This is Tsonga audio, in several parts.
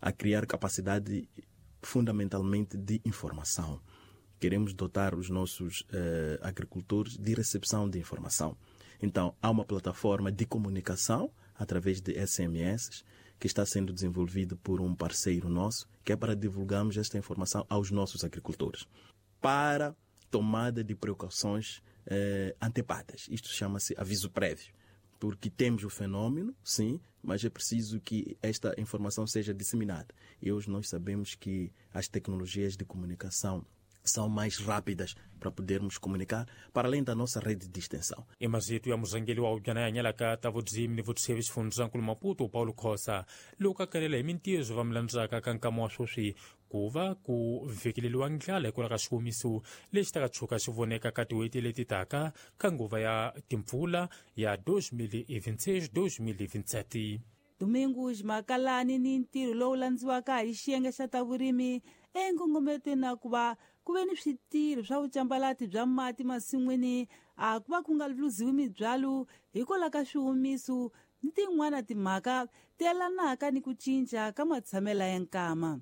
a criar capacidade fundamentalmente de informação. Queremos dotar os nossos agricultores de recepção de informação. Então, há uma plataforma de comunicação através de SMS que está sendo desenvolvido por um parceiro nosso, que é para divulgarmos esta informação aos nossos agricultores, para tomada de precauções antepadas. Isto chama-se aviso prévio, porque temos o fenômeno, sim, mas é preciso que esta informação seja disseminada. E hoje nós sabemos que as tecnologias de comunicação são mais rápidas para podermos comunicar, para além da nossa rede de extensão. Emazito ya murhangeri wa hubyana ya hanyalaka ta vudzimi ni vutsheve xifundzankulu Maputo Paulo Khosa loko a kalela hi mintirho va milandzaka ka nkama wa sweswi ku va ku vhekeleriwa ndlala hikwalaho ka xiwomiso lexi taka tshuka xi voneka ka tin'hweti leti taka ka nguva ya timpfula ya 2026 2027. Domingos Makalani ni ntirho lowu landziwaka hi xiyenge xa ta vurimi enkongometweni na ku va ku ve ni switirho swa vucambalati bya mati masin'wini a ku va ku nga luziwi mibyalo hikwalaho ka swihumiso ni tin'wana timhaka ti yelanaka ni ku cinca ka matshamelo ya nkama.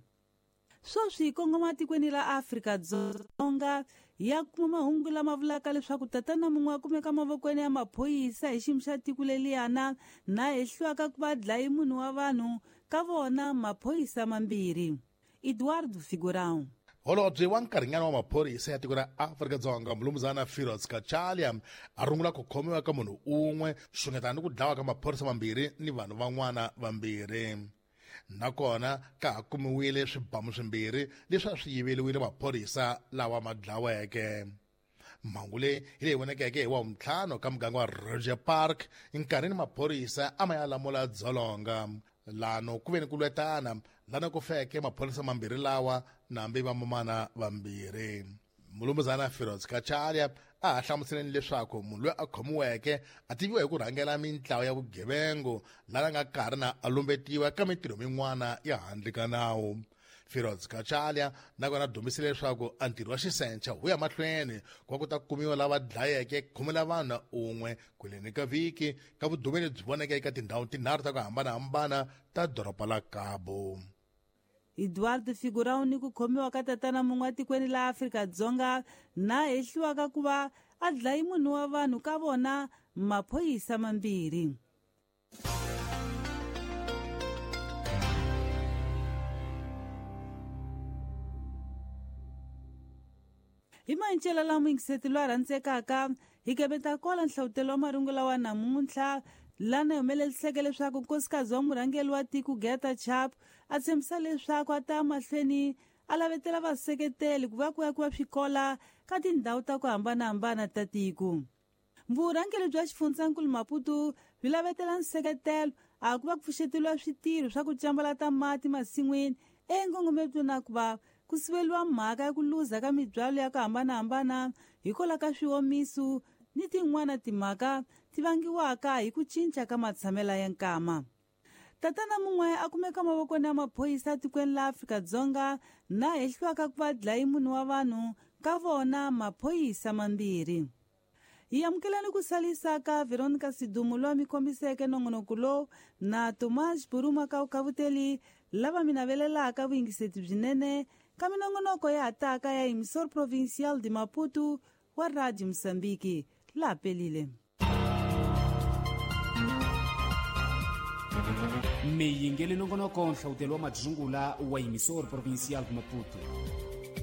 Sweswi hi kongoma tikweni ra Afrika-Dzonga ya kuma mahungu lama vulaka leswaku tatana mun'we a kumeka mavokweni ya maphorisa hi xiyimo xa tiko leliyana na hehliwaka ku va dlayi munhu wa vanhu ka vona maphorisa mambirhi. Eduardo Figurão. Holobye wa nkarhinyana wa maphorisa ya tiko ra Afrika-Dzonga Mulumuzana Firoz Kachalia a rungula ku khomiwa ka munhu un'we xungeta ni ku dlawa ka maphorisa mambirhi ni vanhu van'wana vambirhi. Nakona ka ha kumiwile swibamu swimbirhi leswi a swi yiveriwile maphorisa lawa ma dlaweke. Mhangu leyi hi leyi vonekeke hi wavuntlhanu ka muganga wa Roger Park nkarhini maphorisa a ma ya lamula dzolonga. Lano ku ve ni ku lwetana lana ku feke maphorisa mambirhi lawa nambi vamamana vambirhi. Mulumuzana Firoz Kachalia a ha hlamuseleni leswaku munhu loyi a khomiweke a tiviwa hi ku rhangela mintlawa ya vugevengu lana nga karhi na a lumbetiwa ka mintirho min'wana ya handle ka nawu. Firoz Kachalia nakona dumisile leswaku a ntirho wa xisencha wu ya mahlweni ku va ku ta kumiwa lava dlayeke khume la vanhu un'we kweleni ka vhiki ka vudume lebyi voneke eka tindhawu tinharhu ta ku hambanahambana ta doroba la Cabo. Eduardo Figurão ni ku khomiwa ka tatana mun'we atikweni la Afrika-Dzonga na hehliwaka ku va a dlayi munhu wa vanhu ka vona maphorisa mambirhi. Hi mancela lama yingiseti loyi a rhandzekaka hi kebeta kwala nhlavutelo wa marungula wa namuntlha lana humeleliseke leswaku nkosikazi wa murhangeri wa tiko Geta Chap a tshembisa leswaku a ta mahlweni a lavetela vaseketeli ku va ku akiwa swikola ka tindhawu ta ku hambanahambana ta tiko. Vurhangeri bya xifundzankulu Maputo byi lavetela nseketelo a ku va ku pfuxeteliwa switirho swa ku cambalata mati masin'wini enkongometweni na ku va ku siveliwa mhaka ya ku luza ka mibyalo ya ku hambanahambana hikwalaho ka swiwomiso ni tin'wana timhaka ti vangiwaka hi ku cinca ka matshamelo ya nkama. Tatana mun'we a kumeka mavokweni ya maphorisa tikweni la Afrika-Dzonga na hehliwaka ku va dlayi munhu wa vanhu ka vona maphorisa mambirhi. Hi amukelani ku salisa ka Veronica Sidumo loyi mi kombiseke nongonoko lowu na Tomas Buruma ka Ukavuteli lava mi navelelaka vuyingiseti byinene ka minongonoko ya hataka ya Emissor Provincial de Maputo wa Radio Mozambique. La pelile. Miyingeli nongonoko nhlawutelo wa madzungula wa Emissor Provincial de Maputo.